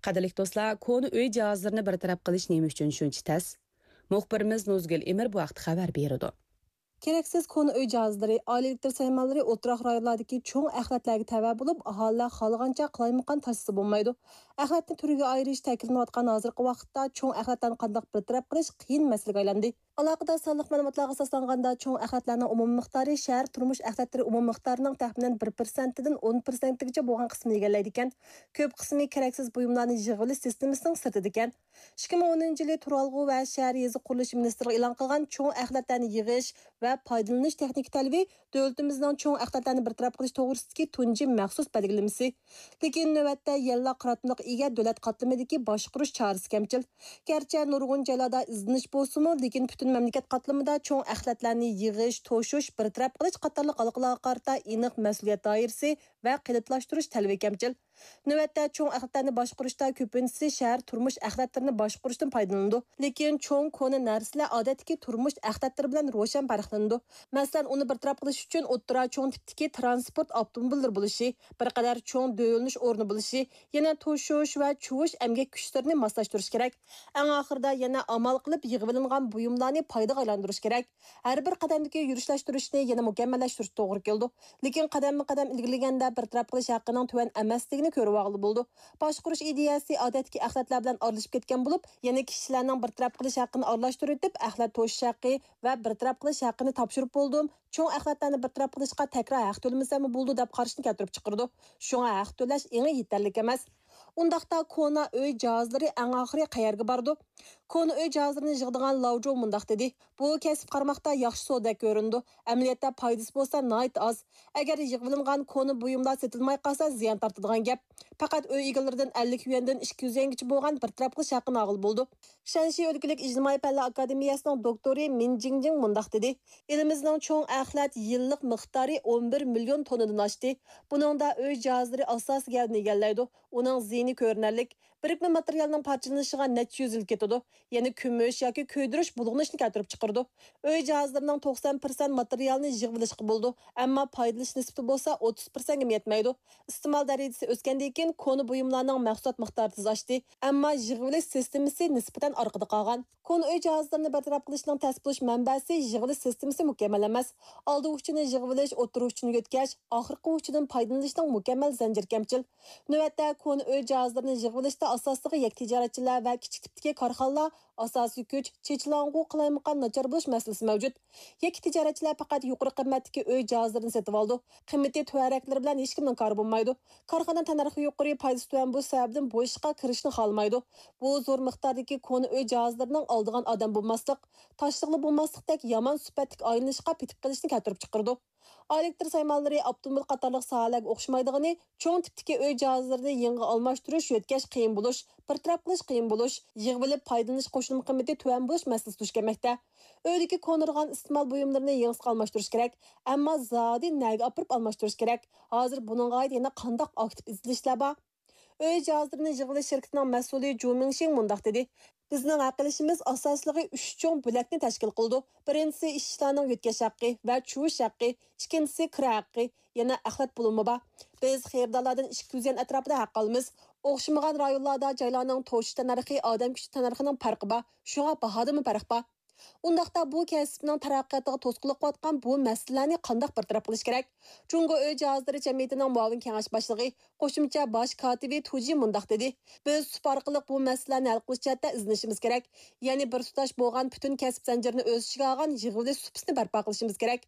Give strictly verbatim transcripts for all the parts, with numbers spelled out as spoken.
قەدىرلىك دوستلار، كونا ئۆي جاھازلىرىنى بىر تەرەپ قىلىش نېمە ئۈچۈن شۇنچە تەس؟ مۇخبىرىمىز نۇزگۈل ئىمىر بۇ ھەقتە خەۋەر بېرىدۇ. كېرەكسىز كونا ئۆي جاھازلىرى، ئائىلە ئېلېكتر سايمانلىرى ئولتۇراق رايونلاردىكى چوڭ ئەخلەتلەرگە تەۋە بولۇپ، ئاھالىلەر خالىغانچە قالايمىقان تاشلىسا بولمايدۇ. ئەخلەتنى تۈرگە ئايرىش تەكىتلىنىۋاتقان ھازىرقى ۋاقىتتا چوڭ ئەخلەتلەرنى قانداق بىر تەرەپ قىلىش قىيىن مەسىلىگە ئايلاندى. ئالاقىدار سانلىق مەلۇماتلارغا ئاساسلانغاندا، چوڭ ئەخلەتلەرنىڭ ئومۇمىي مىقدارى شەھەر تۇرمۇش ئەخلەتلىرى ئومۇمىي مىقدارىنىڭ تەخمىنەن بىر پىرسەنتتىن ئون پىرسەنتكىچە بولغان قىسمىنى ئىگىلەيدىكەن. كۆپ قىسمى كېرەكسىز بۇيۇملارنى يىغىۋېلىش سىستېمىسىنىڭ سىرتىدىكەن. ئىككى مىڭ ئونىنچى يىلى تۇرالغۇ ۋە شەھەر يېزا قۇرۇلۇشى مىنىستىرلىقى ئېلان قىلغان چوڭ ئەخلەتلەرنى يىغىش ۋە پايدىلىنىش تېخنىكا تەلىپى دۆلىتىمىزنىڭ چوڭ ئەخلەتلەرنى بىر تەرەپ قىلىش توغرىسىدىكى تۇنجى مەخسۇس بەلگىلىمىسى. لېكىن نۆۋەتتە يەنىلا قاراتمىلىققا ئىگە دۆلەت قاتلىمىدىكى باشقۇرۇش چارىسى كەمچىل. گەرچە نۇرغۇن جايلاردا ئىزدىنىش بولسىمۇ، لېكىن پۈتۈن مەملىكەت قاتلىمىدا چوڭ ئەخلەتلەرنى يىغىش، توشۇش، بىر تەرەپ قىلىش قاتارلىق ھالقىلارغا قارىتا ئېنىق مەسئۇلىيەت دائىرىسى ۋە قېلىپلاشتۇرۇش تەلىپى كەمچىل. نۆۋەتتە چوڭ ئەخلەتلەرنى باشقۇرۇشتا كۆپىنچىسى شەھەر تۇرمۇش ئەخلەتلىرىنى باشقۇرۇشتىن پايدىلىنىدۇ. لېكىن چوڭ كونا نەرسىلەر ئادەتتىكى تۇرمۇش ئەخلەتلىرى بىلەن روشەن پەرقلىنىدۇ. مەسىلەن، ئۇنى بىر تەرەپ قىلىش ئۈچۈن ئوتتۇرا چوڭ تىپتىكى تىرانسپورت ئاپتوموبىللىرى بولۇشى، بىر قەدەر چوڭ دۆۋىلىنىش ئورنى بولۇشى، يەنە توشۇش ۋە چۇۋۇش ئەمگەك كۈچلىرىنى ماسلاشتۇرۇش كېرەك. ئەڭ ئاخىرىدا يەنە ئامال قىلىپ يىغىۋېلىنغان بۇيۇملارنى پايدىغا ئايلاندۇرۇش كېرەك. ھەر بىر قەدەمدىكى يۈرۈشلەشتۈرۈشنى يەنە مۇكەممەللەشتۈرۈش توغرا كېلىدۇ. لېكىن قەدەممۇ قەدەم ئىلگىرىلىگەندە بىر تەرەپ قىلىش ھەققىنىڭ تۆۋەن ئەمەسلىكىنى كۆرۈۋالغىلى بولىدۇ. باشقۇرۇش ئىدىيەسى ئادەتتىكى ئەخلەتلەر بىلەن ئارىلىشىپ كەتكەن بولۇپ، يەنە كىشىلەرنىڭ بىر تەرەپ قىلىش ھەققىنى ئارىلاشتۇرۇۋېتىپ، ئەخلەت توشۇش ھەققى ۋە بىر تەرەپ قىلىش ھەققىنى تاپشۇرۇپ بولدۇم، چوڭ ئەخلەتلەرنى بىر تەرەپ قىلىشقا تەكرار ھەق تۆلىمىسەممۇ بولىدۇ دەپ قاراشنى كەلتۈرۈپ چىقىرىدۇ. شۇڭا ھەق تۆلەش ئېڭى يېتەرلىك ئەمەس. ئۇنداقتا كونا ئۆي جاھازلىرى ئەڭ ئاخىرى قەيەرگە بارىدۇ؟ كونا ئۆي جاھازلىرىنى يىغىدىغان لاۋ جوۋ مۇنداق دېدى: بۇ كەسىپ قارىماقتا ياخشى سودىدەك كۆرۈنىدۇ، ئەمەلىيەتتە پايدىسى بولسا ناھايىتى ئاز. ئەگەر يىغىۋېلىنغان كونا بۇيۇملار سېتىلماي قالسا زىيان تارتىدىغان گەپ. پەقەت ئۆي ئىگىلىرىدىن ئەللىك يۈەندىن ئىككى يۈز يۈەنگىچە بولغان بىر تەرەپ قىلىش ھەققىنى ئالغىلى بولىدۇ. شەنشى ئۆلكىلىك ئىجتىمائىي پەنلەر ئاكادېمىيەسىنىڭ دوكتورى مىن جىڭجىڭ مۇنداق دېدى: ئېلىمىزنىڭ چوڭ ئەخلەت يىللىق مىقدارى ئون بىر مىليون توننىدىن ئاشتى. بۇنىڭدا ئۆي جاھازلىرى ئاساسىي گەۋدىنى ئىگىلەيدۇ. ئۇنىڭ زىيىنى كۆرۈنەرلىك. بىرىكمە ماتېرىيالنىڭ پارچىلىنىشىغا نەچچە يۈز يىل كېتىدۇ. يەنە كۈمۈش ياكى كۆيدۈرۈش، بۇلغىنىشنى كەلتۈرۈپ چىقىرىدۇ. ئۆي جاھازلىرىنىڭ توقسان پىرسەنت ماتېرىيالنى يىغىۋېلىشقا بولىدۇ، ئەمما پايدىلىنىش نىسبىتى بولسا ئوتتۇز پىرسەنتكىمۇ يەتمەيدۇ. ئىستېمال دەرىجىسى ئۆسكەندىن كېيىن كونا بۇيۇملارنىڭ مەھسۇلات مىقدارى تېز ئاشتى، ئەمما يىغىۋېلىش سىستېمىسى نىسبەتەن ئارقىدا قالغان. كونا ئۆي جاھازلىرىنى بىر تەرەپ قىلىشنىڭ تەس بولۇش مەنبەسى يىغىۋېلىش سىستېمىسى مۇكەممەل ئەمەس. ئالدى ئۇچىنى يىغىۋېلىش، ئوتتۇرا ئۇچىنى يۆتكەش، ئاخىرقى ئۇچىدىن پايدىلىنىشنىڭ مۇكەممەل زەنجىرى كەمچىل. نۆۋەتتە كونا ئۆي جاھازلىرىنى يىغىۋېلىشتا ئاساسلىقى يەككە تىجارەتچىلەر ۋە كىچىك تىپتىكى كارخانىلار ئاساسىي كۈچ، چېچىلاڭغۇ، قالايمىقان، ناچار بولۇش مەسىلىسى مەۋجۇت. يەككە تىجارەتچىلەر پەقەت يۇقىرى قىممەتتىكى ئۆي جاھازلىرىنى سېتىۋالىدۇ. قىممىتى تۆۋەنرەكلىرى بىلەن ھېچكىمنىڭ كارى بولمايدۇ. كارخانا تەننەرخى يۇقىرى، پايدىسى تۆۋەن بولۇش سەۋەبىدىن بۇ ئىشقا كىرىشىشنى خالىمايدۇ. بۇ زور مىقداردىكى كونا ئۆي جاھازلىرىنىڭ ئالىدىغان ئادەم بولماسلىق، تاشلىغىلى بولماسلىقتەك يامان سۈپەتلىك ئايلىنىشقا پېتىپ قېلىشنى كەلتۈرۈپ چىقىرىدۇ. ئائىلە ئېلېكتر سايمانلىرى، ئاپتوموبىل قاتارلىق ساھەلەرگە ئوخشىمايدىغىنى، چوڭ تىپتىكى ئۆي جاھازلىرىنى يېڭىغا ئالماشتۇرۇش، يۆتكەش قىيىن بولۇش، بىر تەرەپ قىلىش قىيىن بولۇش، يىغىۋېلىپ پايدىلىنىش قوشۇلما قىممىتى تۆۋەن بولۇش مەسىلىسى دۇچ كەلمەكتە. ئۆيدىكى كونىرىغان ئىستېمال بۇيۇملىرىنى يېڭىسىغا ئالماشتۇرۇش كېرەك. ئەمما زادى نەگە ئاپىرىپ ئالماشتۇرۇش كېرەك؟ ھازىر بۇنىڭغا ئائىت يەنە قانداق ئاكتىپ ئىزدىنىشلەر بار؟ ئۆي جاھازلىرىنى يىغىۋېلىش شىركىتىنىڭ مەسئۇلى جۇ مىڭشىڭ مۇنداق دېدى: بىزنىڭ ھەق ئېلىشىمىز ئاساسلىقى ئۈچ چوڭ بۆلەكنى تەشكىل قىلىدۇ. بىرىنچىسى ئىشچىلارنىڭ يۆتكەش ھەققى ۋە چۇۋۇش ھەققى، ئىككىنچىسى كىرا ھەققى، يەنە ئەخلەت بولۇمى بار. بىز خېرىدارلاردىن ئىككى يۈز يۈەن ئەتراپىدا ھەق ئالىمىز. ئوخشىمىغان رايونلاردا جايلارنىڭ توشۇش تەننەرخى، ئادەم كۈچى تەننەرخىنىڭ پەرقى بار، شۇڭا باھادىمۇ پەرق بار. ئۇنداقتا بۇ كەسىپنىڭ تەرەققىياتىغا توسقۇنلۇق قىلىۋاتقان بۇ مەسىلىلەرنى قانداق بىر تەرەپ قىلىش كېرەك؟ جۇڭگو ئۆي جاھازلىرى جەمئىيىتىنىڭ مۇئاۋىن كېڭەش باشلىقى، قوشۇمچە باش كاتىپى تۇجى مۇنداق دېدى: بىز سۇپا ئارقىلىق بۇ مەسىلىلەرنى ھەل قىلىش جەھەتتە ئىزدىنىشىمىز كېرەك. يەنى بىر تۇتاش بولغان پۈتۈن كەسىپ زەنجىرىنى ئۆز ئىچىگە ئالغان يىغىۋېلىش سۇپىسىنى بەرپا قىلىشىمىز كېرەك.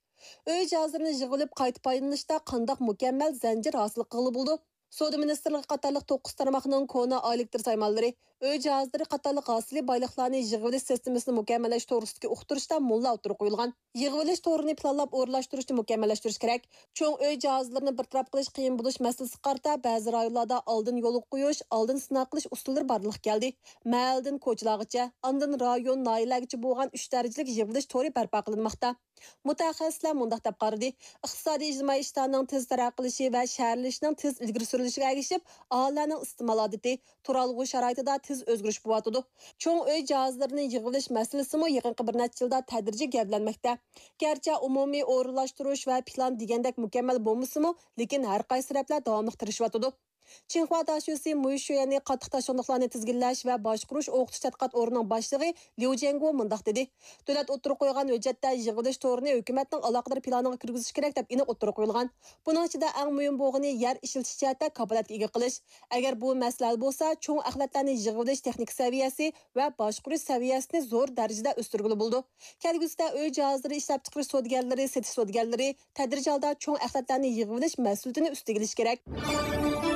ئۆي جاھازلىرىنى يىغىۋېلىپ قايتا پايدىلىنىشتا قانداق مۇكەممەل زەنجىر ھاسىل قىلغىلى بولىدۇ؟ سودا مىنىستىرلىقى قاتارلىق توققۇز تارماقنىڭ كونا ئائىلە ئېلېكتر سايمانلىرى، ئۆي جاھازلىرى قاتارلىق ھاسىلى بايلىقلارنى يىغىۋېلىش سىستېمىسىنى مۇكەممەللەش توغرىسىدىكى ئۇقتۇرۇشتا مۇنۇلار ئوتتۇرىغا قويۇلغان: يىغىۋېلىش تورىنى پىلانلاپ ئورۇنلاشتۇرۇشنى مۇكەممەللەشتۈرۈش كېرەك. چوڭ ئۆي جاھازلىرىنى بىر تەرەپ قىلىش قىيىن بولۇش مەسىلىسىگە قارىتا بەزى رايونلاردا ئالدىن يولغا قويۇش، ئالدىن سىناق قىلىش ئۇسۇللىرى بارلىققا كەلدى. مەھەللىدىن كوچىلارغىچە، ئاندىن رايون، ناھىيەلەرگىچە بولغان ئۈچ دەرىجىلىك يىغىۋېلىش تورى بەرپا قىلىنماقتا. مۇتەخەسسىسلەر مۇنداق دەپ قارىدى: ئىقتىسادىي ئىجتىمائىي ئىشلارنىڭ تېز تەرەققىي قىلىشى ۋە شەھەرلىشىشنىڭ تېز ئىلگىرى سۈرۈلۈشىگە ئەگىشىپ، ئاھالىلەرنىڭ ئىستېمال ئادىتى، تۇرالغۇ شارائىتىدا تېز ئۆزگىرىش بولۇۋاتىدۇ. چوڭ ئۆي جاھازلىرىنى يىغىۋېلىش مەسىلىسىمۇ يېقىنقى بىر نەچچە يىلدا تەدرىجىي گەۋدىلەنمەكتە. گەرچە ئومۇمىي ئورۇنلاشتۇرۇش ۋە پىلان دېگەندەك مۇكەممەل بولمىسىمۇ، لېكىن ھەر قايسى تەرەپلەر داۋاملىق تىرىشىۋاتىدۇ. چىڭخۇا داشۆسى مۇي شۈيەنى قاتتىق تاشياڭلىقلارنى تىزگىنلەش ۋە باشقۇرۇش ئوقۇتۇش تەتقىقات ئورنىنىڭ باشلىقى ليۇ جيەنگو مۇنداق دېدى: دۆلەت ئوتتۇرىغا قويغان ھۆججەتتە يىغىۋېلىش تورىنى ھۆكۈمەتنىڭ ئالاقىدار پىلانىغا كىرگۈزۈش كېرەك، دەپ ئېنىق ئوتتۇرىغا قويۇلغان. بۇنىڭ ئىچىدە ئەڭ مۇھىم بولغىنى يەر ئىشلىتىش جەھەتتە كاپالەتكە ئىگە قىلىش. ئەگەر بۇ مەسىلە ھەل بولسا، چوڭ ئەخلەتلەرنى يىغىۋېلىش تېخنىكا سەۋىيەسى ۋە باشقۇرۇش سەۋىيەسىنى زور دەرىجىدە ئۆستۈرگىلى بولىدۇ. كەلگۈسىدە ئۆي جاھازلىرى ئىشلەپچىقىرىش سودىگەرلىرى، سېتىش سودىگەرلىرى تەدرىجىي ھالدا چوڭ ئەخلەتلەرنى يىغىۋېلىش مەسئۇلىيىتىنى ئۈستىگە ئېلىشى كېرەك.